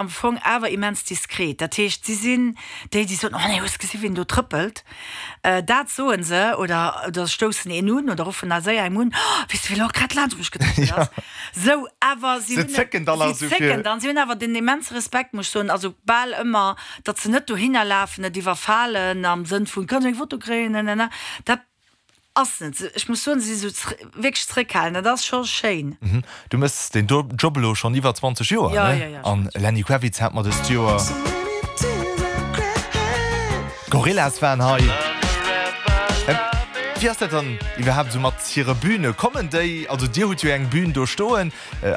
Am Fong awer immens diskret. Dat heescht, si sinn déi, déi soen, Oh nee, hues gesi wien do trëppelt? Dat soen se oder oder stoussen een un oder ruffen da séier engem un, Oh, weess de, wie elo grad laanscht mech getrëppelt ass? Sou, awer si Se hunn, zécken dann si also fir. zécken dann. Si hunn awer den immense Respekt, muss ech soen, also bal ëmmer, datt se net dohinner lafen, et iwwerfalen am Sënn vun, Kann ech eng Foto kréien? Nanana. Dat Ass net sou. Ech muss soen, se si sou wierklech zréckhalend. Dat ass scho schéin. Du mëss deen Job elo schonn iwwer 20 Joer, ne? An Lenny Kravitz hat mer dëst Joer. D'Gorillaz waren hei. Wéi ass dat dann iwwerhaapt esou mat hire Büne? Kommen déi, also dir hutt jo eng Bühn do stoen,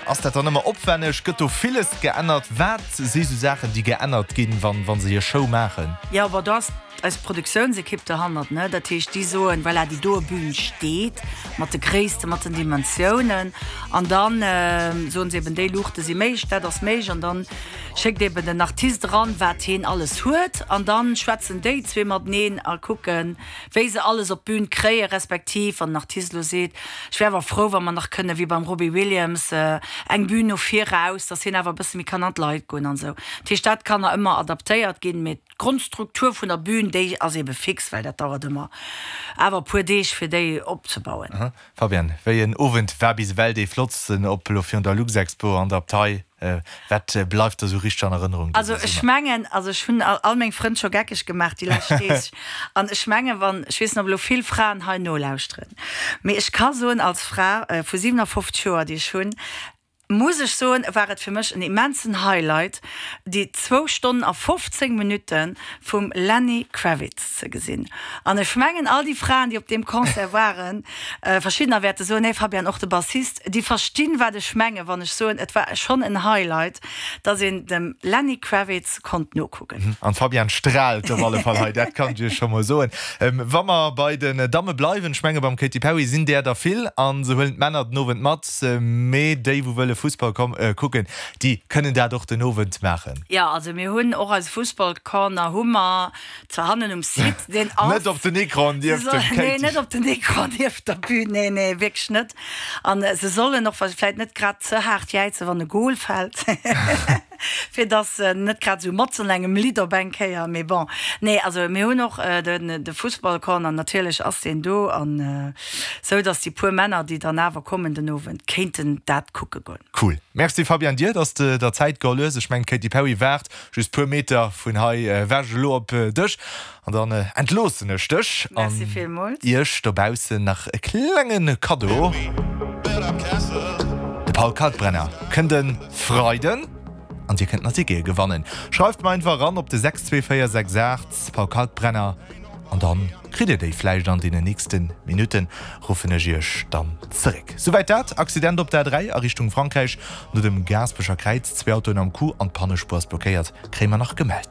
ass dat dann ëmmer opwenneg? Gëtt do villes geännert? Wat si sou Saachen, déi geännert ginn, wa se hir Show maachen? Jo, bon, do ass eis Produktiounsekipp derhannert, ne, dat heescht, déi soen, voilà, déi doe Bühn steet mat de Gréissten, mat den Dimensiounen an dann soen se eben, déi Luuchte si méiglech, dat ass méiglech an dann schéckt eben den Artist eran, wat heen alles huet an dann schwätzen déi zwee mateneen a kucken, wéi se alles op d'Bühn kréien, respektiv wann den Artist elo seet, ech wär awer frou, wa mer nach kënne wéi beim Robbie Williams eng Bühn no vir raus, dass hien awer e bësse méi kann an d'Leit goen an esou. Dat heescht, dat kann nach ëmmer adaptéiert ginn, mee. D'Grondstruktur vun der Bühn, déi ass ebe fix, well dat dauert ëmmer awer e puer Deeg fir déi opzebauen. Fabienne, wéi en Owend war bis ewell dee flottsten, ob elo virun der Luxexpo an der Abtei? Wat bleift der sou richteg an Erënnerung dëse Summer? Also ech mengen, also ech hunn all meng Frënn scho geckeg gemaach déi lescht Deeg an ech mengen, wann, ech weess net ob elo vill Fraen hei nolauschteren, mee ech ka soen als Fra vu 57 Joer déi ech hunn, muss ech soen, war et fir mech en immensen Highlight, déi zwou Stonnen a 15 Minutte vum Lenny Kravitz ze gesinn. An ech mengen, all déi Fraen, déi op deem Concert waren, verschiddener wäerte soen, nee Fabian, och de Bassist, déi verstinn, wat ech mengen, wann ech soen, et war schonn en Highlight, dass een dem Lenny Kravitz konnt nokucken. An d'Fabienne straalt op alle Fall hei, dat kann ech iech scho mol soen. Wa mer bei den Damme bleiwen, ech menge beim Katy Perry sinn där der vill a se huelen d'Männer den Owend mat, mee déi wou wëlle Fussball kucken, déi kënnen dat och den Owend maachen. Jo, also mir hunn och eise Fussballcorner hu mer zwar hannen um Site, deen ass. Net op den Ecran nieft dem Katy. Nee, net op den Ecran nieft der Bühn, nee, nee, wierklech net. An se sollen och vläit net grad ze haart jäizen, wann e Gol fält, fir dass se net grad esou matzen an engem Lidd op eng Kéier, mee bon. Nee, also mir hunn och de Fussballcorner, natierlech ass deen do, an esou dass déi puer Männer, déi dann awer kommen den Owend, kéinten dat kucke goen. Cool. Merci Fabienne dir, dass de der Zäit geholl hues. Ech mengen d'Katy Perry waart just puer Meter vun hei ewech elo op dech. An dann entloossen ech dech an iech dobaussen nach e klenge Kaddo. De Paul Kalkbrenner kënnt e Freiden an dir kënnt nach Tickete gewannen. Schreift mer einfach eran op de 62468 Paul Kalkbrenner an dann kritt dir déi vläicht an deenen nächste Minutten ruffen ech iech dann zeréck. Souwäit dat. Accident op der A3 a Richtung Frankräich no dem Gaasperecher Kräiz, zwee Autoen am Coup an d'Pannespuer ass blockéiert, kréie mer nach gemellt.